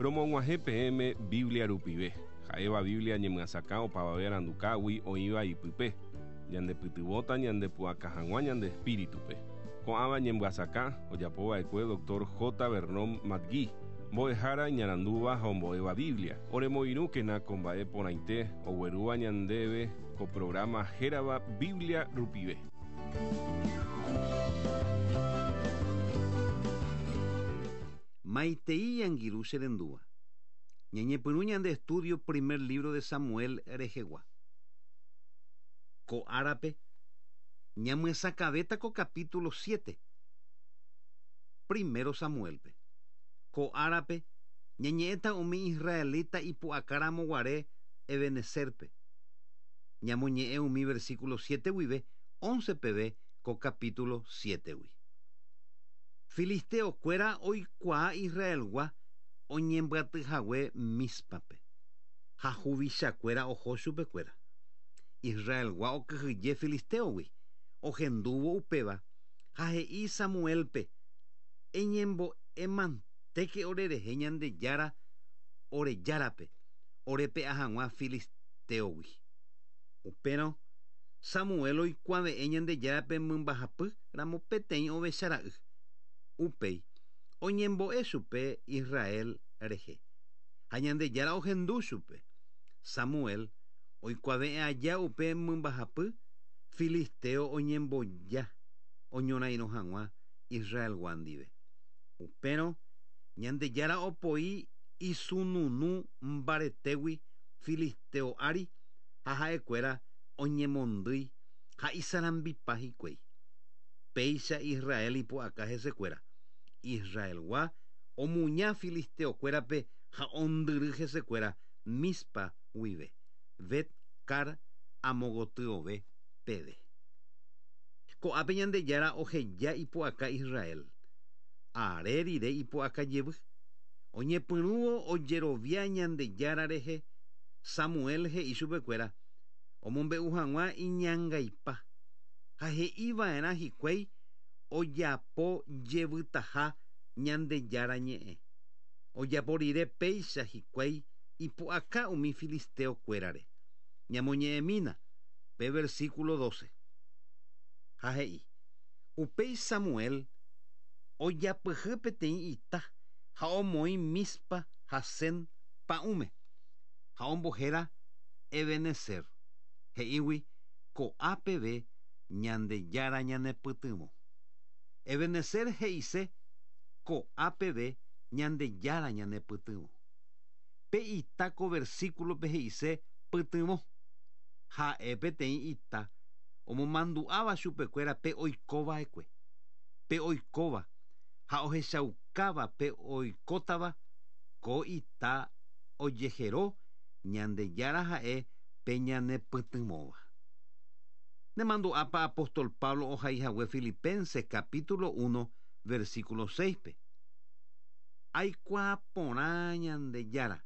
Romog̃uahẽ peẽme Biblia rupive, ha'éva Biblia ñemyasakã opavave arandukágui oĩva ipype, ñandepytyvõta ñandepu'aka hag̃ua ñande espíritupe. Ko'ãva ñemyasakã ojapova'ekue Dr. J. Vernon McGee, mbo'ehára iñarandúva ha ombo'éva Biblia. Oremoirũkena ko mba'e porãite oguerúva ñandéve ko programa hérava Biblia rupive. Maitei angirũ che rendúva. Ñañepyrũ ñande estudio primer libro de Samuel rehegua. Ko árape ñamyesakãvéta ko capítulo 7, primero Samuel-pe. Ko árape ñañe'ẽta umi israelita ipu'akáramo guare Ebenezer-pe. Ñamoñe'ẽ umi versículo 7 guive 11 peve ko capítulo 7-gui. Filisteo-kuéra oikuaa Israelgua oñembyatyhague Mízpape, ha huvichakuéra oho chupekuéra. Israelgua okyhyje filisteo-gui, ohendúvo upéva, ha he'i Samuel-pe, Eñembo'emantéke orerehe Ñandejára ore Járape, orepe'a hag̃ua filisteo-gui. Upérõ Samuel oikuave'ẽ Ñandejárape mymbahapy ramo peteĩ ovecha ra'y. Upéi oñembo'e chupe Israel rehe, ha Ñandejára ohendu chupe. Samuel oikuave'ẽ aja upe mymbahapy, filisteo oñemboja oñorairõ hag̃ua Israelgua ndive. Upérõ Ñandejára opoi isununu mbaretégui filisteo ári ha ha'ekuéra oñemondýi ha isarambipa hikuái. Péicha Israel ipu'aka hesekuéra. Israelgua omuña filisteo-kuérape ha ondyry hesekuéra Mizpa guive, Bet-Car amo gotyove peve. Ko'ápe Ñandejára oheja ipu'aka Israel. Are rire ipu'aka jevy. Oñepyrũvo ojerovia Ñandejára rehe, Samuel he'i chupekuéra omombe'u hag̃ua iñangaipa ha he'iva'erã hikuái ojapo jevytaha Ñandejára ñe'ẽ. Ojapo rire péicha hikuái ipu'aka umi filisteo-kuérare. Ñamoñe'ẽmína pe versículo 12. Ha he'i, Upéi Samuel ojapyhy peteĩ ita ha omoĩ Mizpa ha Sen pa'ũme, ha ombohéra Ebenezer, he'ígui ko'a peve Ñandejára ñanepytyvõ. Ebenezer he'ise ko'a peve Ñandejára ñanepytyvõ. Pe ita ko versículo-pe he'ise pytyvõ. Ha'e peteĩ ita omomandu'áva chupekuéra pe oikova'ekue, pe oikóva ha ohechaukáva pe oikótava, ko ita ojehero Ñandejára ha'e pe ñanepytyvõva. Nemandu'ápa apóstol Pablo ohaihague Filipenses capítulo 1 versículo 6-pe? Aikuaa porã Ñandejára,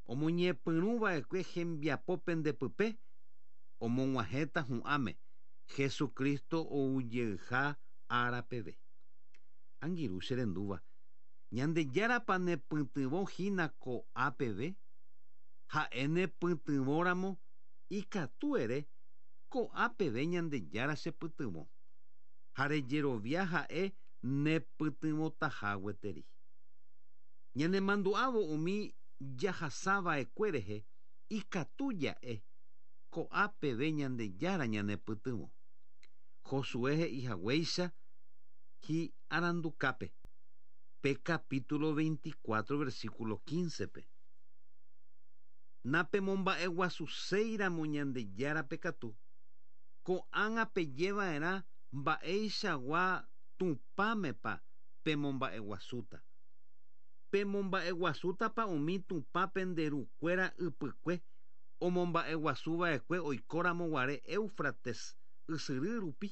omoñepyrũva'ekue hembiapo pendepype, omog̃uahẽta hu'ãme Jesucristo oujeyha ára peve. Angirũ che rendúva, Ñandejárapa nepytyvõ hína ko'a peve? Ha'e nepytyvõramo ikatu ere, Ko'a peve Ñandejára chepytyvõ, ha rejerovia ha'e nepytyvõtaha gueteri. Ñanemandu'ávo umi jahasa va'ekue rehe ikatu ja'e, Ko'a peve Ñandejára ñanepytyvõ. Josué he'i haguéicha hi'arandukápe, pe capítulo 24 versículo 15-pe. Napemomba'eguasuséiramo Ñandejárape katu, ko'ág̃a pejeva'erã mba'eichagua Tupãmepa pemomba'eguasúta. Pemomba'eguasútapa umi Tupã pende rukuéra ypykue omomba'eguasuva'ekue oikóramo guare Éufrates ysyry rupi,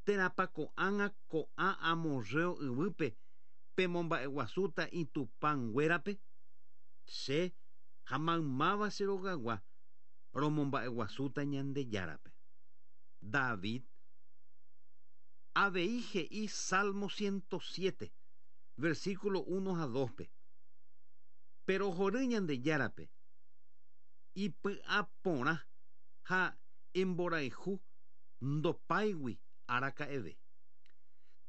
térãpa ko'ág̃a ko'ã amorreo yvýpe pemomba'eguasúta itupãnguérape? Che ha maymáva che rogagua romomba'eguasúta Ñandejárape. David avei he'i Salmo 107, versículo 1 ha 2-pe. Perohory Ñandejárape, ipy'aporã ha imborayhu ndopáigui araka'eve.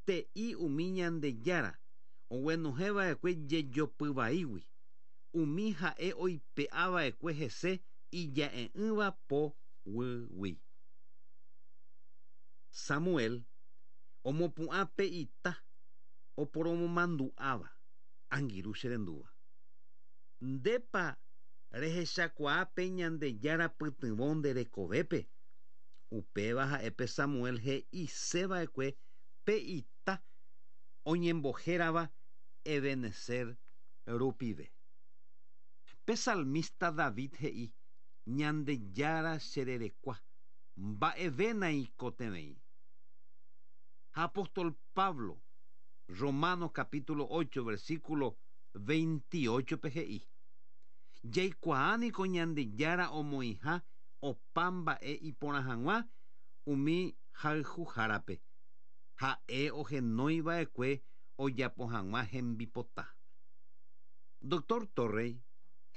Te'i umi Ñandejára oguenohẽva'ekue jejopy vaígui, umi ha'e oipe'ava'ekue hese ija'e'ỹva po guýgui. Samuel omopu'ã pe ita oporomomandu'áva, angirũ che rendúva. Ndépa rehechakuaa pe Ñandejára pytyvõ nde rekovépe? Upéva ha'e pe Samuel he'iseva'ekue pe ita oñembohérava Ebenezer rupive. Pe salmista David he'i, Ñandejára che rerekua, mba'eve naikotevẽi. Ha apóstol Pablo, Romanos capítulo 8 versículo 28-pe he'i, Jaikuaa niko Ñandejára omoĩha opa mba'e iporã hag̃ua umi hayhuhárape, ha'e ohenói va'ekue ojapo hag̃ua hembipota. Doctor Torrey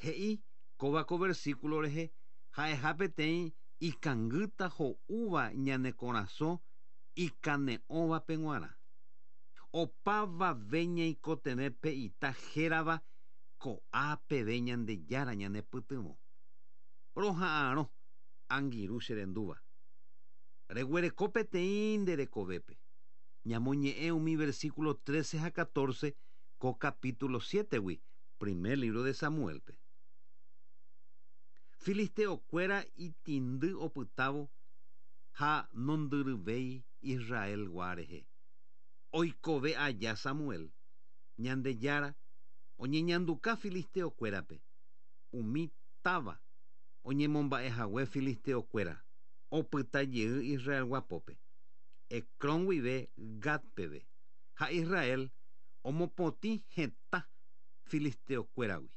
he'i kóva ko versículo rehe ha'eha peteĩ ikangýta ho'úva ñane korasõ ikane'õvape g̃uarã. Opavave ñaikotevẽ pe ita hérava ko'a peve Ñandejára ñanepytyvõ. Roha'arõ, angirũ che rendúva. Reguereko peteĩ nde rekovépe. Ñamoñe'ẽ umi versículo 13 ha 14 ko capítulo 7-gui primer libro de Samuel-pe. Filisteo-kuéra itĩndy opytávo ha nondyryvéi Israel-gua rehe. Oikove aja Samuel, Ñandejára oñeñanduka filisteo-kuérape, umi táva oñemomba'ehague filisteo-kuéra opyta jey Israelgua pópe, Ecrón guive Gat peve, ha Israel omopotĩ hetã filisteo-kuéragui.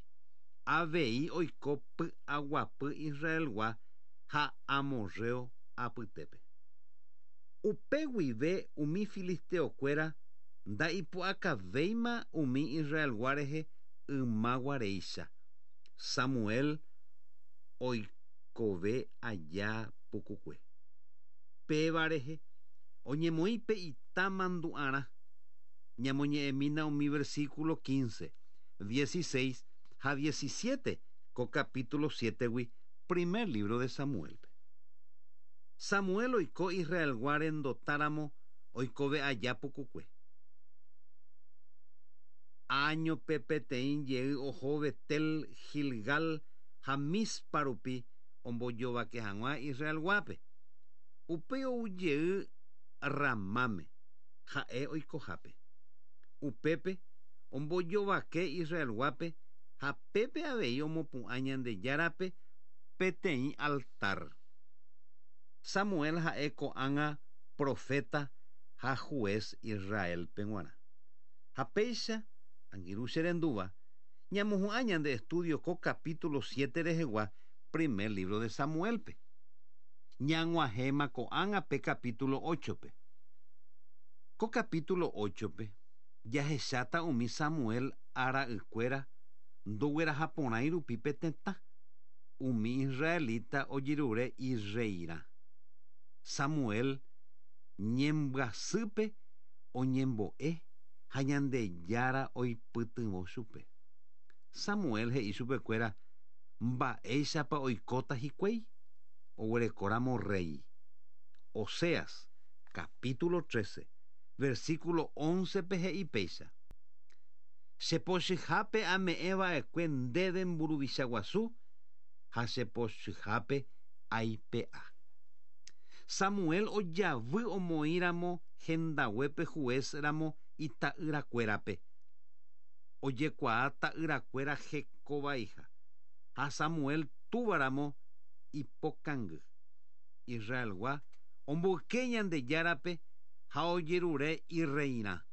Avei oiko py'aguapy Israelgua ha amorreo apytépe. Upe guive umi filisteo-kuéra nda'ipu'akavéima umi Israelgua rehe yma guaréicha, Samuel oikove aja pukukue. Péva rehe oñemoĩ pe ita mandu'arã. Ñamoñe'ẽmína umi versículo 15, 16 ha 17 ko capítulo 7-gui primer libro de Samuel-pe. Samuel oiko Israelgua rendotáramo oikove aja pukukue. Áñope peteĩ jey oho Betel, Gilgal ha Mizpa rupi ombojovake hag̃ua Israelguápe. Upéi ou jey Ramáme, ha'e oikohápe. Upépe ombojovake Israelguápe ha pépe avei omopu'ã Ñandejárape peteĩ altar. Samuel ha'e ko'ág̃a proféta ha juez Israel-pe g̃uarã. Ha péicha, angirũ che rendúva, ñamohu'ã ñande estudio ko capítulo 7 rehegua primer libro de Samuel-pe. Ñag̃uahẽma ko'ág̃a pe capítulo 8-pe. Ko capítulo 8-pe jahecháta umi Samuel ara'ykuéra ndoguerahaporãi rupi pe tetã, umi israelita ojerure irreirã. Samuel ñembyasýpe oñembo'e ha Ñandejára oipytyvõ chupe. Samuel he'i chupekuéra mba'éichapa oikóta hikuái oguerekóramo rréi. Oseas, capítulo 13, versículo 11-pe he'i péicha, Che pochyhápe ame'ẽ va'ekue ndéve mburuvicha guasu ha che pochyhápe aipe'a. Samuel ojavy omoĩ ramo hendaguépe juez ramo ita'yrakuérape. Ojekuaa ta'yrakuéra heko vaiha, ha Samuel túva ramo ipokangy. Israelgua omboyke Ñandejárape ha ojerure irreirã.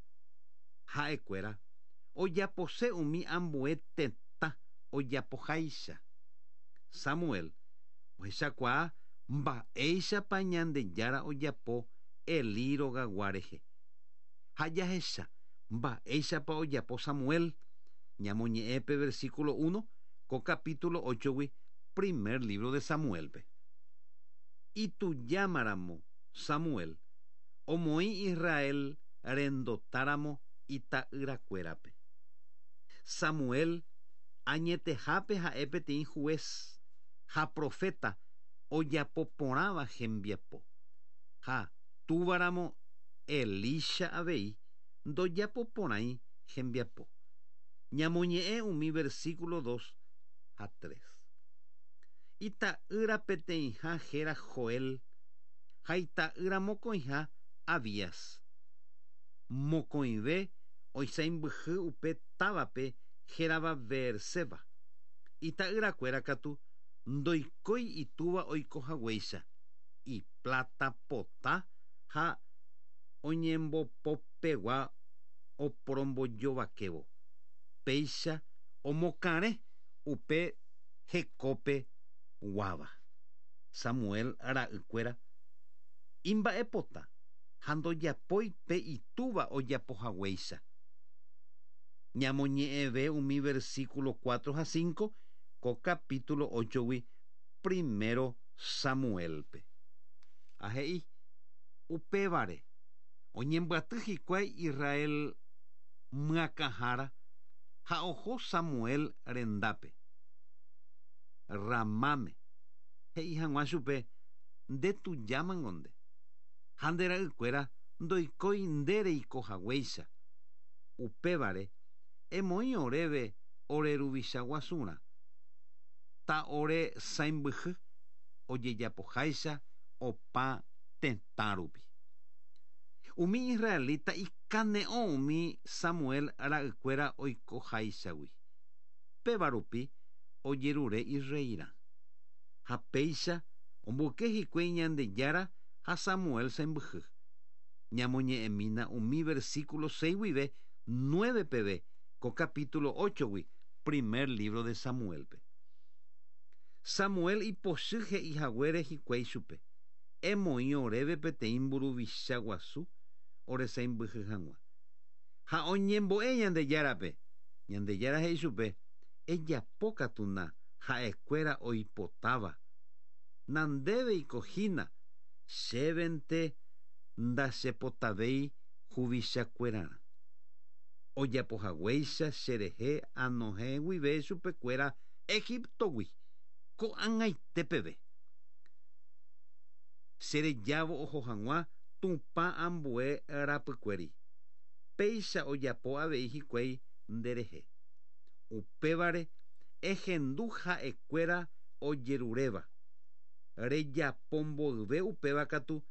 Ha'ekuéra ojapose umi ambue tetã ojapoháicha. Samuel ohechakuaa mba'éichapa Ñandejára ojapo Elí rogagua rehe. Ha jahecha mba'éichapa ojapo Samuel. Ñamoñe'ẽ pe versículo 1 ko capítulo 8-gui primer libro de Samuel-pe. Itujámaramo Samuel omoĩ Israel rendotáramo ita'yrakuérape. Samuel añetehápe ha'e peteĩ juez ha profeta ojapoporãva hembiapo. Ha túvaramo Elisha avei ndojapoporãi hembiapo. Ñamoñe'ẽ umi versículo 2 ha 3. Ita'ýra peteĩha héra Joel ha ita'ýra mokõiha Abías. Mokõive oisãimbyhy upe távape hérava Beerseba. Ita'yrakuéra katu ndoikói itúva oikohaguéicha, ipláta pota ha oñembopopegua oporombojovakévo. Péicha omokarẽ upe hekópe guáva. Samuel ra'ykuéra imba'epota ha ndojapói pe itúva ojapohaguéicha. Ñamoñe'ẽve umi versículo 4 ha 5 ko capítulo 8-gui primero Samuel-pe. Ha he'i, Upévare, oñembyaty hikuái Israel myakãhára ha oho Samuel rendápe, Ramáme, he'i hag̃ua chupe, Nde tujámango nde, ha nde ra'ykuéra ndoikói nde reikohaguéicha. Upévare, emoĩ oréve ore ruvicha guasurã, ta ore sãimbyhy ojejapoháicha opa tetã rupi. Umi israelita ikane'õ umi Samuel ra'ykuéra oikoháichagui. Péva rupi ojerure irreirã. Ha péicha omboyke hikuái Ñandejára ha Samuel sãimbyhy. Ñamoñe'ẽmína umi versículo 6 guive 9 peve ko capítulo 8-gui primer libro de Samuel-pe. Samuel ipochy he'ihaguére hikuái chupe, Emoĩ oréve peteĩ mburuvicha guasu ore sãimbyhy hag̃ua. Ha oñembo'e Ñandejárape. Ñandejára he'i chupe, Ejapo katu na ha'ekuéra oipotáva. Nandéveiko hína, chévente ndachepotavéi huvichakuerarã. Ojapohaguéicha cherehe anohẽ guive chupekuéra Egiptogui, ko'ag̃aite peve. Cherejávo oho hag̃ua Tupã ambue rapykuéri. Péicha ojapo avei hikuái nderehe. Upévare ehendu ha'ekuéra ojeruréva. Rejapo mboyve upéva katu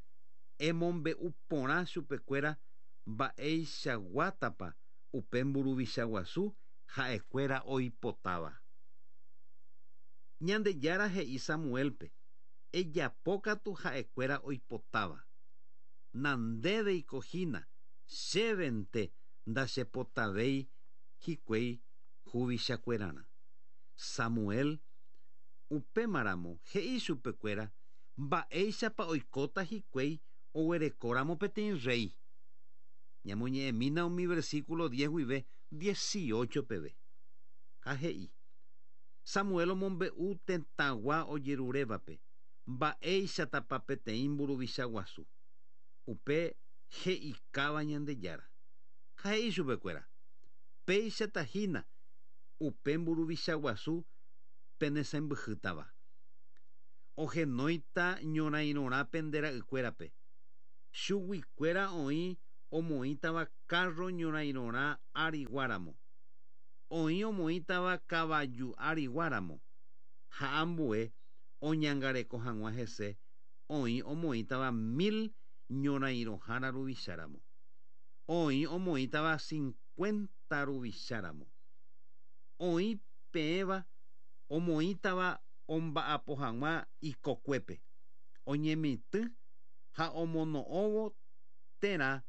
emombe'u porã chupekuéra mba'eichaguátapa upe mburuvicha guasu ha'ekuéra oipotáva. Ñandejára he'i Samuel-pe, Ejapo katu ha'ekuéra oipotáva. Nandéveiko hína, chévente ndachepotavéi hikuái huvichakuerarã. Samuel upémaramo he'i chupekuéra mba'éichapa oikóta hikuái oguerekóramo peteĩ rréi. Ñamoñe'ẽmína umi versículo 10 guive 18 peve. Ha he'i, Samuel omombe'u tetãgua ojerurévape mba'éichatapa peteĩ mburuvicha guasu, upe he'ikáva Ñandejára. Ha he'i chupekuéra, Péichata hína upe mburuvicha guasu penesãimbyhýtava. Ohenóita ñorãirõrã pende ra'ykuérape. Chuguikuéra oĩ omoĩtava kárro ñorãirõrã áriguaramo. Oĩ omoĩtava kavaju áriguaramo ha ambue oñangareko hag̃ua hese oĩ omoĩtava mil ñorãirõhára ruvicháramo. Oĩ omoĩtava cincuenta ruvicháramo. Oĩ peẽva omoĩtava omba'apo hag̃ua ikokuépe, oñemitỹ ha omono'õvo térã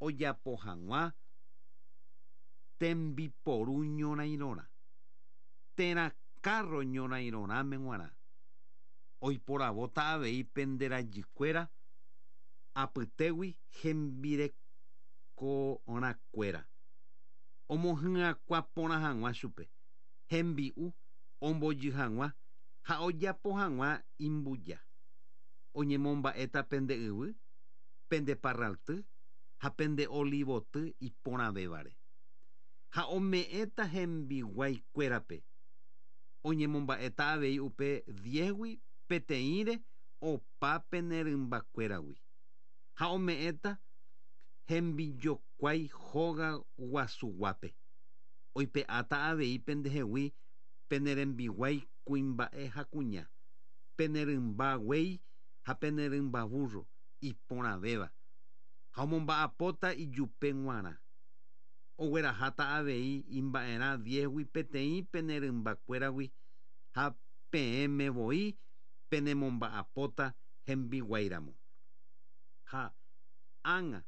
ojapo hag̃ua tembiporu ñorãirõrã, térã kárro ñorãirõrãme g̃uarã. Oiporavóta avei pende rajykuéra apytégui hembirekorãkuéra. Omohyakuã porã hag̃ua chupe, hembi'u ombojy hag̃ua ha ojapo hag̃ua imbuja. Oñemomba'éta pende yvy, pende parralty ha pende olivoty iporãvévare. Ha ome'ẽta hembiguaikuérape. Oñemomba'éta avei upe diézgui peteĩre opa pene rymbakuéragui. Ha ome'ẽta hembijokuái hóga guasuguápe. Oipe'áta avei pendehegui pene rembiguái kuimba'e ha kuña, pene rymba guéi ha pene rymba vúrro iporãvéva, ha omomba'apóta ijupe g̃uarã. Ogueraháta avei imba'erã diézgui peteĩ pene rymbakuéragui ha peẽme voi penemomba'apóta hembiguáiramo. Ha ág̃a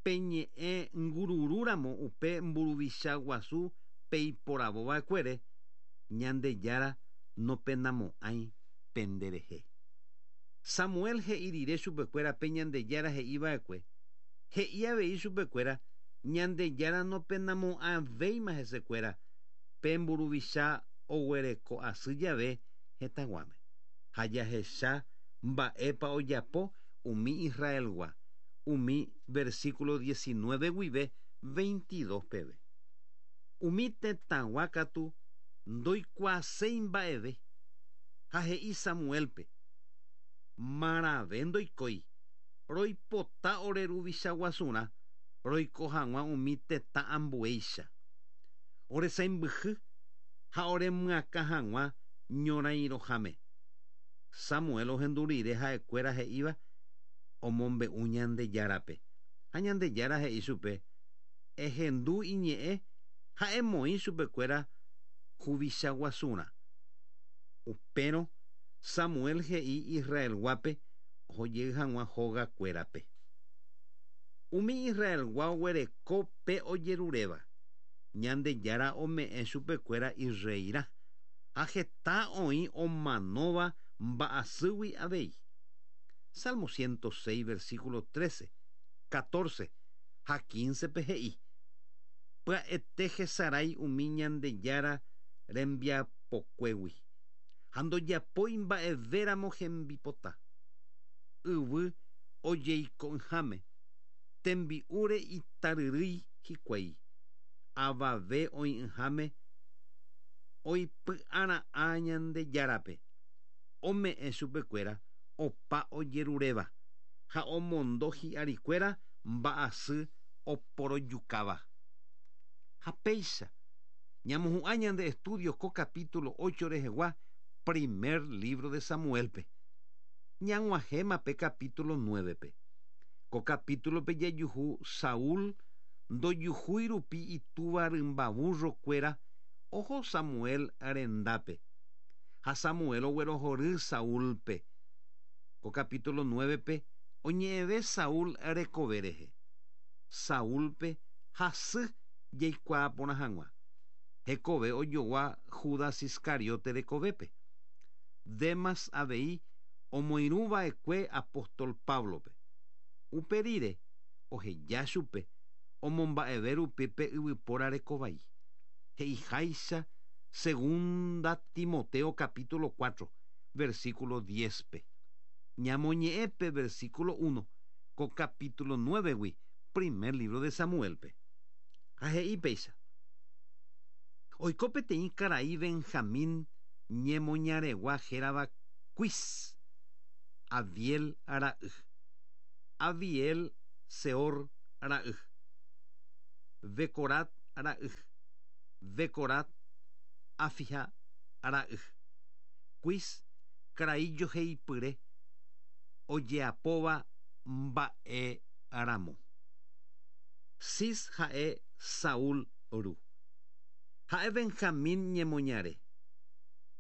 peñe'ẽ ngururúramo upe mburuvicha guasu peiporavo va'ekuére, Ñandejára nopenamo'ãi penderehe. Samuel he'i rire chupekuéra pe Ñandejára he'i va'ekue, he'i avei chupekuéra Ñandejára nopenamo'ãvéima hesekuéra pe mburuvicha oguereko asy jave hetãguáme. Ha jahecha mba'épa ojapo umi Israelgua, umi versículo 19 guive 22 peve. Umi tetãgua katu ndoikuaaséi mba'eve, ha he'i Samuélpe, Marãve ndoikói, roipota ore ruvicha guasurã roiko hag̃ua umi tetã ambuéicha. Ore sãimbyhy ha ore myakã hag̃ua ñorãirõháme. Samuel ohendu rire ha'ekuéra he'íva omombe'u Ñandejárape, ha Ñandejára he'i chupe, Ehendu iñe'ẽ ha emoĩ chupekuéra huvicha guasurã. Upérõ Samuel he'i Israelguápe ohojey hag̃ua hóga kuérape. Umi Israelgua oguereko pe ojeruréva, Ñandejára ome'ẽ chupekuéra irreirã, ha heta oĩ omanóva mba'asýgui avei. Salmo 106 versículo 13, 14 ha 15-pe he'i, Pya'ete hesarái umi Ñandejára rembiapokuégui, ha ndojapói mba'evéramo hembipota. Yvy ojeiko'ỹháme, tembi'úre itaryrýi hikuái, avave oĩ'ỹháme oipy'ara'ã Ñandejárape, ome'ẽ chupekuéra opa ojeruréva ha omondo hi'arikuéra mba'asy oporojukáva. Ha péicha, ñamohu'ã ñande estudio ko capítulo 8 rehegua primer libro de Samuel-pe. Ñag̃uahẽma pe capítulo 9-pe. Ko capítulo-pe jajuhu Saúl ndojuhúi rupi itúva rymba vúrro-kuéra oho Samuel rendápe. Ha Samuel oguerohory Saúlpe. Ko capítulo 9-pe oñe'ẽve Saúl rekove rehe. Saúlpe hasy jaikuaa porã hag̃ua. Hekove ojogua Judas Iscariote rekovépe. Demas avei omoirũ va'ekue apóstol Páblope. Upe rire, oheja chupe omomba'eve rupi pe yvypóra rekovai. He'iháicha Segunda Timoteo capítulo 4, versículo 10-pe. Ñamoñe'ẽ pe versículo 1 ko capítulo 9-gui primer libro de Samuel-pe. Ha he'i péicha, Oiko peteĩ karai Benjamín ñemoñaregua hérava Quis, Abiel ra'y. Abiel Seor ra'y. Becorat ra'y. Becorat Afija ra'y. Quis karai joheipyre ojeapóva mba'e ramo. Cis ha'e Saúl ru. Ha'e Benjamín ñemoñare.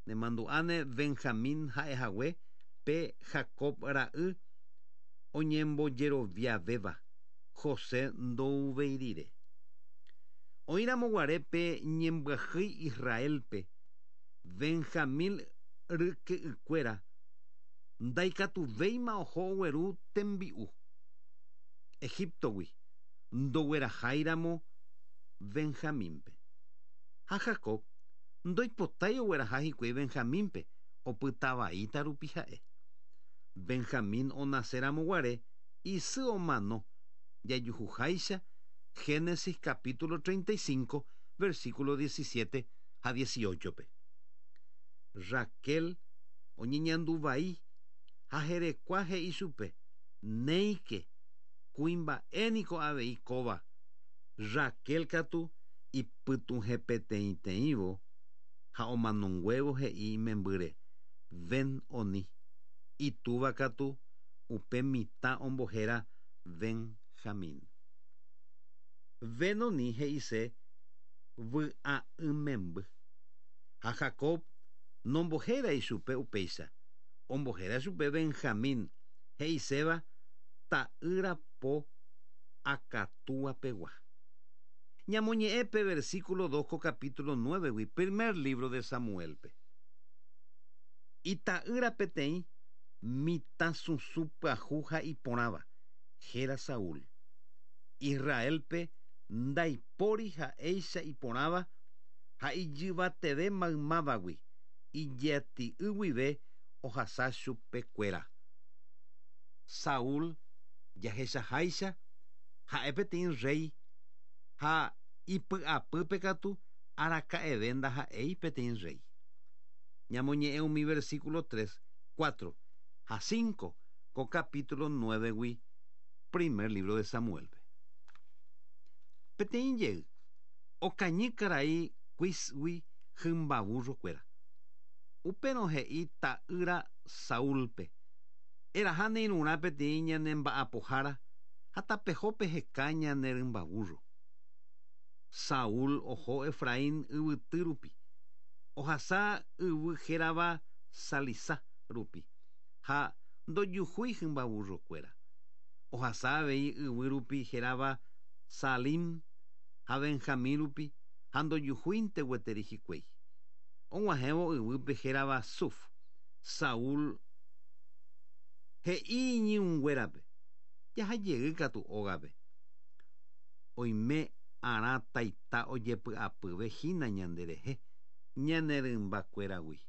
Nemandu'áne Benjamín ha'ehague pe Jacob ra'y oñembojeroviavéva José ndouvéi rire. Oĩramo guare pe ñembyahýi Israélpe, Benjamín ryke'ykuéra ndaikatuvéima oho ogueru tembi'u Egíptogui ndogueraháiramo. Benjamínpe. Ha Jacob ndoipotái ogueraha hikuái Benjamínpe opytavaíta rupi ha'e. Benjamín onaséramo guare isy omano jajuhuháicha Génesis capítulo 35 versículo 17 ha 18-pe. Raquel oñeñanduvai ha herekua he'i chupe néike kuimba'éniko avei kóva. Raquel katu ipytuhẽpeteĩteĩvo ha omanonguévo he'i imembýre Ben-Oni. Itúva katu upe mitã ombohéra Benjamín. Ben-Oni he'ise vy'a'ỹ memby. Ha Jacob nombohérai chupe upéicha, ombohéra chupe Benjamín, he'iséva ta'ýra po akatúapegua. Ñamoñe'ẽ pe versículo 2 ko capítulo 9-gui, primer libro de Samuel-pe. Ita'ýra peteĩ mitãsusũ pyahu ha iporãva, héra Saúl. Israelpe ndaipóri ha'éicha iporãva ha ijyvateve maymávagui, ijati'y guive ohasa chupekuéra. Saúl jahechaháicha ha'e peteĩ rey ha ipy'apýpe katu araka'eve ndaha'éi peteĩ rey. Ñamoñe'ẽ umi versículo 3, 4 ha 5 ko capítulo 9-gui primer libro de Samuel-pe. Peteĩ jey, okañy karai Quisgui hymba burro-kuéra. Upérõ he'i ta'ýra Saúlpe, eraha ne irũrã peteĩ ñane mba'apohára ha tapeho peheka ñane rymba burro. Saúl oho Efraín yvyty rupi, ohasa yvy hérava Salisa rupi ha ndojuhúi hymba burro-kuéra. Ohasa avei yvy rupi hérava Salim ha Benjamín rupi ha ndojuhúinte gueteri hikuái. Og̃uahẽvo yvýpe hérava Suf, Saúl he'i iñirũnguérape, jahajey katu ógape. Oime arã taita ojepy'apyve hína ñanderehe, ñane rymbakuéragui.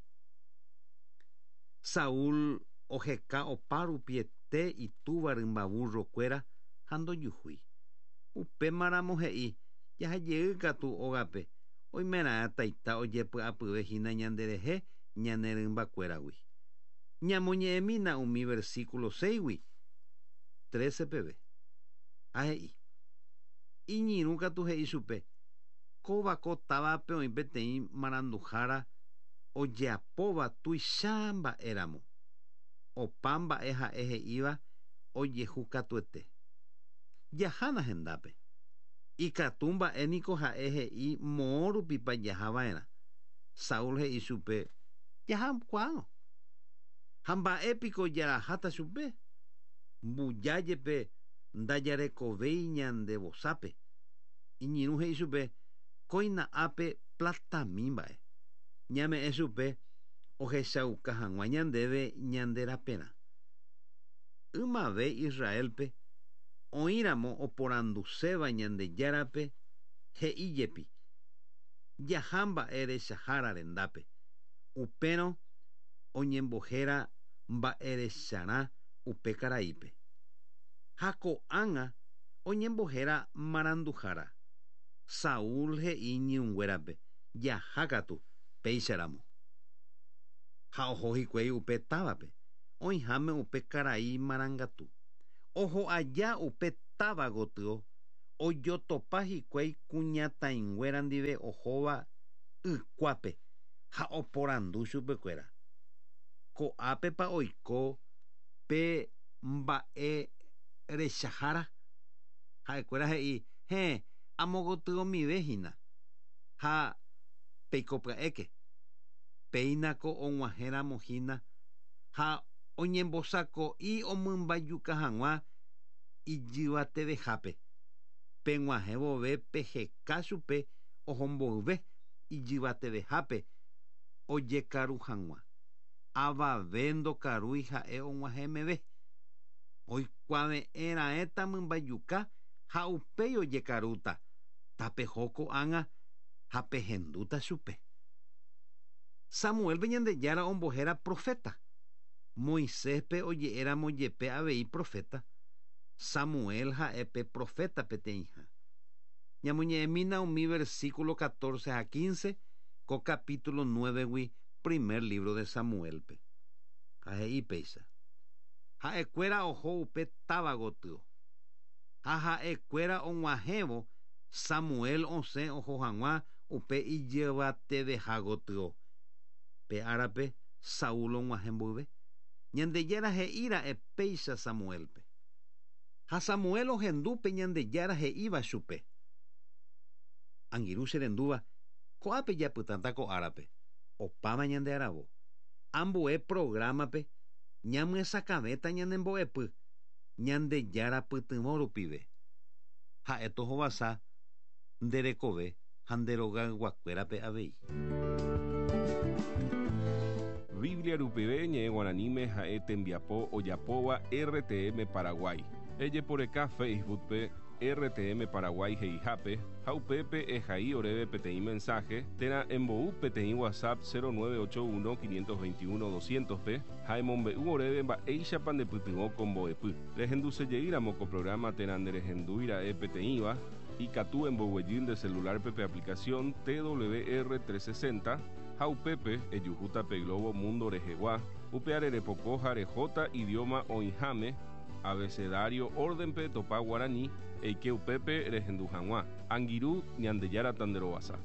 Saúl oheka opa rupiete itúva rymba burro-kuéra ha ndojuhúi. Upémaramo he'i, jahajey katu ógape, oimeraẽ taita ojepy'apyve hína ñanderehe, ñane rymbakuéragui. Ñamoñe'ẽmína umi versículo 6-gui 13 peve. Ha he'i, iñirũ katu he'i chupe, kóva ko távape oĩ peteĩ maranduhára ojeapóva tuicha mba'éramo. Opa mba'e ha'e he'íva ojehu katuete. Jahána hendápe. Ikatu mba'e niko ha'e he'i moõ rupipa jaha va'erã. Saúl he'i chupe, jahakuaárõ. Ha mba'e piko jaraháta chupe? Mbuja jepe ndajarekovéi ñande vosápe. Iñirũ he'i chupe, kóina ápe platami mba'e. Ñame'ẽ chupe ohechauka hag̃ua ñandéve ñande raperã. Ymave Israelpe oĩramo oporanduséva Ñandejárape he'i jepi, jaha mba'e rechahára rendápe. Upérõ oñembohéra mba'erecharã upe karaípe. Ha ko'ág̃a oñembohéra maranduhára. Saúl he'i iñirũnguérape, jaha katu, péicharamo. Ha oho hikuái upe távape, oĩháme upe karai marangatu. Oho aja upe táva gotyo, ojotopa hikuái kuñataĩnguéra ndive ohóva ykuápe ha oporandu chupekuéra. Ko'ápepa oiko pe mba'e rechahára? Ha'ekuéra he'i, héẽ, amo gotyomive hína. Ha peiko pya'éke. Péinako og̃uahẽramo hína ha oñembosako'i omymbajuka hag̃ua ijyvatevehápe. Peg̃uahẽ vove peheka chupe ohomboyve ijyvatevehápe ojekaru hag̃ua. Avave ndokarúi ha'e og̃uahẽ meve. Oikuave'ẽ raẽta mymbajuka ha upéi ojekarúta. Tapeho ko'ág̃a ha pehendúta chupe. Samuélpe Ñandejára ombohéra proféta. Moiséspe oje'éramo jepe avei proféta, Samuel ha'e pe proféta peteĩha. Ñamoñe'ẽmína umi versículo 14 ha 15 ko capítulo 9-gui primer libro de Samuélpe. Ha he'i péicha: Ha'ekuéra oho upe táva gotyo. Ha ha'ekuéra og̃uahẽvo, Samuel osẽ oho hag̃ua upe ijyvateveha gotyo. Pe árape Saúl og̃uahẽ mboyve, Ñandejára he'íra'e péicha Samuélpe. Ha Samuel ohendu pe Ñandejára he'íva chupe. Angirũ che rendúva, ko'ápe japytãta ko árape, opáma ñande aravo. Ambue programa-pe ñamyesakãvéta ñane mbo'epy Ñandejára pytyvõ rupive. Ha'e tohovasa nde rekove ha nde rogayguakuérape avei. Biblia rupive ñe'ẽ guaraníme ha'e tembiapo ojapóva RTM Paraguay. Ejeporeka Facebook-pe RTM Paraguay he'ihápe ha upépe ehai oréve peteĩ mensaje térã embou peteĩ WhatsApp 0981 521 200-pe ha emombe'u oréve mba'éichapa ndepytyvõ ko mbo'epy. Rehendusejeýramo ko programa térã nderehendúi ra'e peteĩva, ikatu emboguejy nde celular-pe pe aplicación TWR 360 ha upépe ejuhúta pe globo mundo rehegua, upeare repoko ha rehóta idioma oĩháme, abecedario orden-pe topa guarani, eike upépe rehendu hag̃ua. Angirũ Ñandejára tanderovasa.